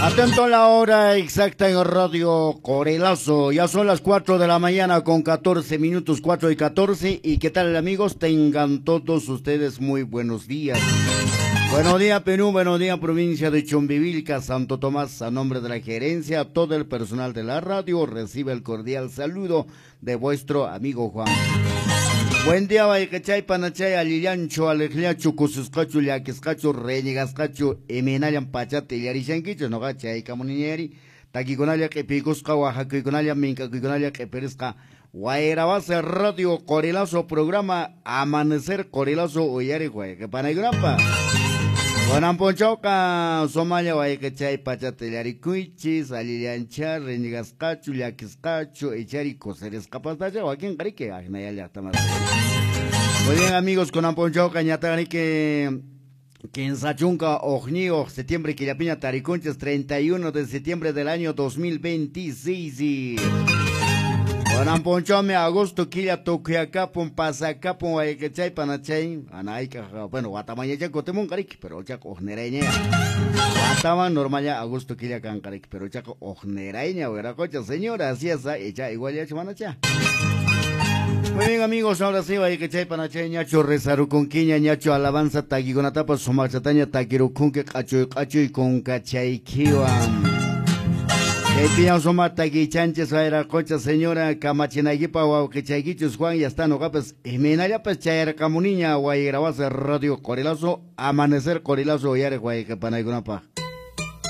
Atento a la hora exacta en Radio Corelazo. Ya son las 4 de la mañana con 14 minutos, 4:14. ¿Y qué tal, amigos? Tengan todos ustedes muy buenos días. Buenos días, Perú. Buenos días, provincia de Chumbivilca, Santo Tomás. A nombre de la gerencia, todo el personal de la radio recibe el cordial saludo de vuestro amigo Juan. Buen día, wayqichay, panachay, allillanchu, aleqllachu, kususqachu, llakisqachu, reñigasqachu, imaynallam pachata illarishankichu, noqa chaykamuniñari, takikunalla q'ipiykusqa, waqakuykunalla, mink'akuykunalla q'ipirisqa, Wayrawase Radio Qorilazo programa Amanecer Qorilazo uyariq wayqipanaykunapaq. Kunan p'unchawqa sumalla wayqichay pachata illarikuychis, allillancha, reñigasqachu, llakisqachu, ichari kusirisqapastacha, wakinqa riki ahinaya llaqtamas. Muy bien, amigos, kunan p'unchawqa ñataq riki 31 septiembre killapiña tarikunchis, 31 de septiembre del año 2026. Kunan p'unchawmi agosto killa tukuyakapun, pasakapun wayqichay panachay, anaykaq, bueno, watamañacha kutimunqa riki, pero chaqa uqnirayña. Wataman normal ya agosto killa kanqa riki, pero chaqa uqnirayña wiraqocha, señora, así es, icha igual ya manacha. Muy bien, amigos, ahora sí, wayqichay panachay, ñachu rezarukunkiña, ñachu alabanza takikunatapas sumaqchataña takirukunki q'achuy q'achuy kunkachaykiwan. Chaypiña suma takichanchis wayraqocha señora kamachinaykipa wawqichaykichus Juan ya está noqapas imaynallapas chayarqamuniña Wayrawase Radio Qorilazo Amanecer Qorilazo uyariq wayqipanaykunapaq.